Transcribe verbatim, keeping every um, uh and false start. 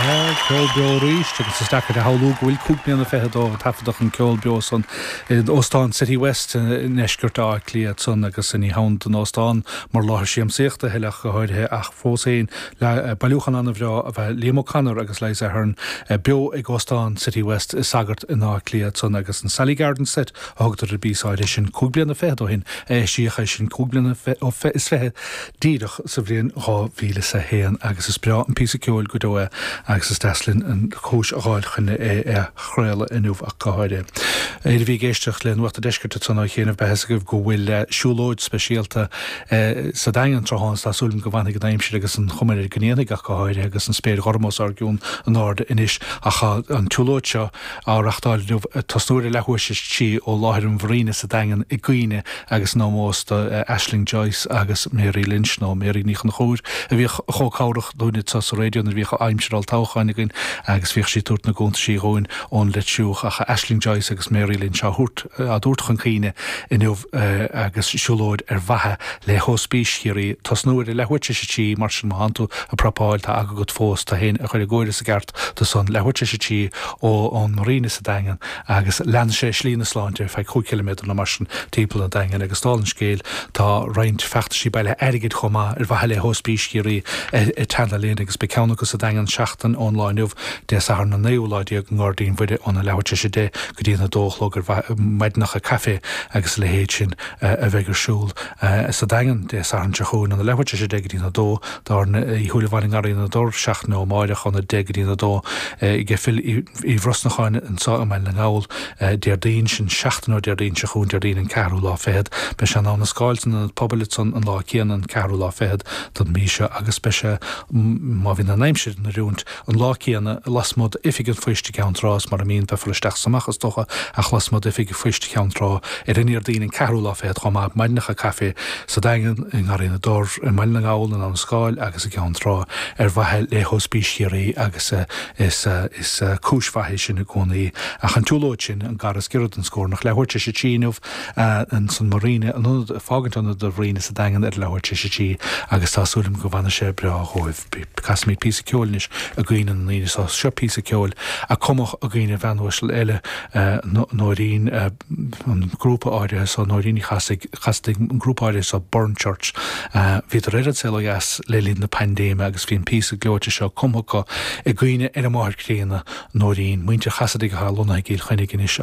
Ceol beo arís agus is deacair a shamhlú go bhfuil cúig bliana fichead ó taifeadadh an ceol beo san in Óstán City West i ndeisceart Átha Cliath san agus ní hamháin don óstán mar láthair siamsaíochta thuilleach go háirithe ach fós féin le bailiúchán an-bhreá a bheith Liam O'Connor agus Liza Ahern beo ag Óstán City West i Sagart in Áth Cliath san agus an Sally Garden Set a thugtar ar an bpíosa áirithe sin cúig bliana fichead ó shin eisíodh é sin cúig bliana is fiche díreach sa bhliain dhá mhíle is a haon agus is breá an píosa ceoil go deo é agus is deas linn an chúis a fháil chun é a chraoladh inniu ach go háirithe. Éire bhí ag éisteacht le Nuacht an Deiscirt san á chéanamh behes agaibh go bhfuil siúlóid speisialta sa Daingean tráthnóna tá súil go bhfanfaidh an aimsir agus an chuma air go ndéanfaidh ach go háirithe agus an spéir ghorm os ár gcionn in airde anois ach an tsiúlóid seo á reáchtáil inniu tosnú ar leathuair tar éis a trí ó láthair an Mharina sa Daingean i gcuimhne agus in ómós do Ashling Joyce agus Mary Lynch nó Mary Ní Chonchúir a bhíodh chomh cabhrach dúinne sa raidió nuair a bhíodh aimsir olltoghcháin againn agus bhíodh sí ag tabhairt na gcuntaisí dhúinn ón Leitriúch ach Ashling Joyce agus Mary Lynch á thabhairt á dtabhairt chun cuimhne inniu agus siúlóid ar mhaithe le hOspís Chiarraí tosnú ar leathuair tar éis a trí mar sin má tánn tú ag prapáil tá agat fós tú féin a chur i gcóir sa gceart do son leathuair tar éis a trí ó ón Marina sa Daingean agus lean sé Slí na Sláinte feadh cúig chiliméadar nó mar sin timpeall an Daingean agus dála an scéil tá roinnt feachtaisí bailithe airgid chomh maith ar mhaithe le hOspís Chiarraí ag teannadh linn agus beidh ceann acu sa Daingean seachtain ón lá inniu Dé Sathairn an naoú lá déag i nGairdín Mhuire óna leathuair tar éis a deich go dtí a dó a chlog ar maidineacha caife agus a leithéid sin a bheidh ar siúl sa Daingean Dé Sathairn seo chugainn óna leathuair tar éis a deich go dtí a dó Dár Uí Shúilleabháin i nGarraí na dTor seachtain ó amárach óna deich go dtí a dó ag Phil Uí Bhrosnacháin anseo i mBaile na nGall Déardaoin sin seachtain ó Déardaoin seo chugainn Déardaoin an ceathrú lá fichead beidh sé in Abha na Scáil san ionad pobail san an lá céanna an ceathrú lá fichead don mhí seo agus beidh sé má bhíonn an aimsir in oiriúint an lá céanna lasmuigh d'oifig an phoist i gCeann Trá mar a mbíonn beifear isteach is amach is dócha ach lasmuigh d'oifig an phoist Cheann Trá ar an Déardaoin an ceathrú lá fichead chomh maith maidineacha caife sa Daingean i nGarraí na dTor i mBaile na nGall in Abha na Scáil agus i gCeann Trá ar mhaithe le hOspís Chiarraí agus is is cúis mhaith sin i gcónaí ach an tsiúlóid sin an gar is giorra don scornach leathuair tar éis a trí inniu an san Marina an ionad fágaint ionad an Mharina sa Daingean ar leathuair tar éis a trí agus tá súil agam go bhfanfaidh sé breá dhóibh. Casfaimid píosa ceoil anois i gcuimhne na ndaoine seo seo píosa ceoil a cumadh i gcuimhne bhean uasal eile Nóirín an grúpa áirithe so Nóirín Ní Chasaide an grúpa áirithe so Burren Church. Bhíodar ar an saol ó dheas le linn na paindéime agus bhí an píosa gleoite seo cumtha acu i gcuimhne ar a máthair críonna Nóirín, muintir Chasaide atá lonnaithe i gCill Chainnigh anois.